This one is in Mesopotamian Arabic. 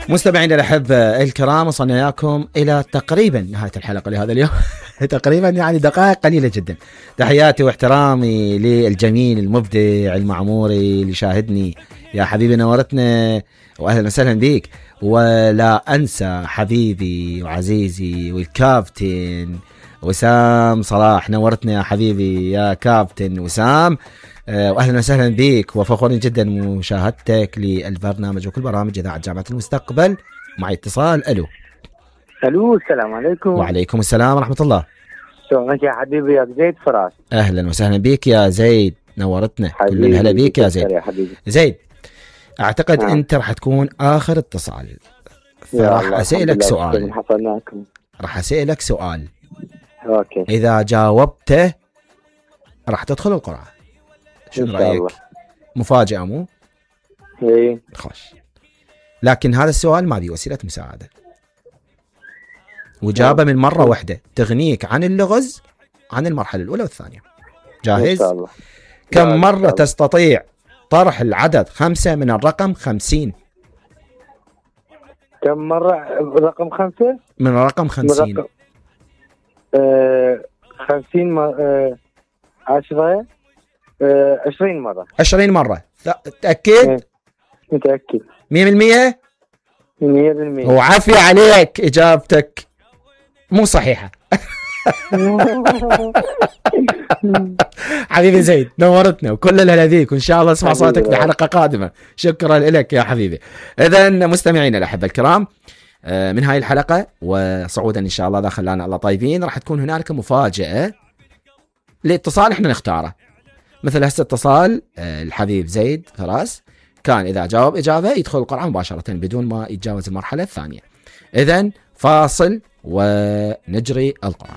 مستمعينا الأحبة الكرام، وصلنا إياكم إلى تقريبا نهاية الحلقة لهذا اليوم. تقريبا يعني دقائق قليلة جدا. تحياتي واحترامي للجميل المبدع المعموري اللي شاهدني. يا حبيبي نورتنا وأهلا وسهلا بيك. ولا أنسى حبيبي وعزيزي والكابتن وسام صلاح، نورتنا يا حبيبي يا كابتن وسام، واهلا وسهلا بك، وفخورين جدا مشاهدتك للبرنامج وكل برامج اذاعه جامعه المستقبل. معي اتصال. الو السلام عليكم. وعليكم السلام ورحمه الله. شلونك يا حبيبي يا زيد فراس؟ اهلا وسهلا بك يا زيد، نورتنا. كل الهلا بك يا زيد. زيد، اعتقد انت راح تكون اخر اتصال، فراح اسالك سؤال. راح اسالك سؤال، اوكي، اذا جاوبته راح تدخل القرعه. شنو رايك؟ مفاجاه مو؟ ايه خوش. لكن هذا السؤال ما بيه وسيله مساعده، وجابه من مره واحده تغنيك عن اللغز عن المرحله الاولى والثانيه. جاهز؟ ان شاء الله. كم مره تستطيع طرح العدد 5 من الرقم 50؟ كم مره رقم 5 من الرقم 50؟ 50 10 20 مرة. 20 مرة. تأكد؟ متأكد 100%؟ 100%. وعافية عليك، إجابتك مو صحيحة. حبيبي زيد، نورتنا وكل الهلا فيك، وإن شاء الله اسمع صوتك في حلقة قادمة. شكرا لك يا حبيبي. إذن مستمعينا الأحبة الكرام، من هاي الحلقة وصعودا إن شاء الله إذا خلانا الله طيبين، راح تكون هنالك مفاجأة لاتصال إحنا نختاره. مثل هسه اتصال الحبيب زيد فراس، كان إذا جاوب إجابة يدخل القرعة مباشرة بدون ما يتجاوز المرحلة الثانية. إذن فاصل ونجري القرعة.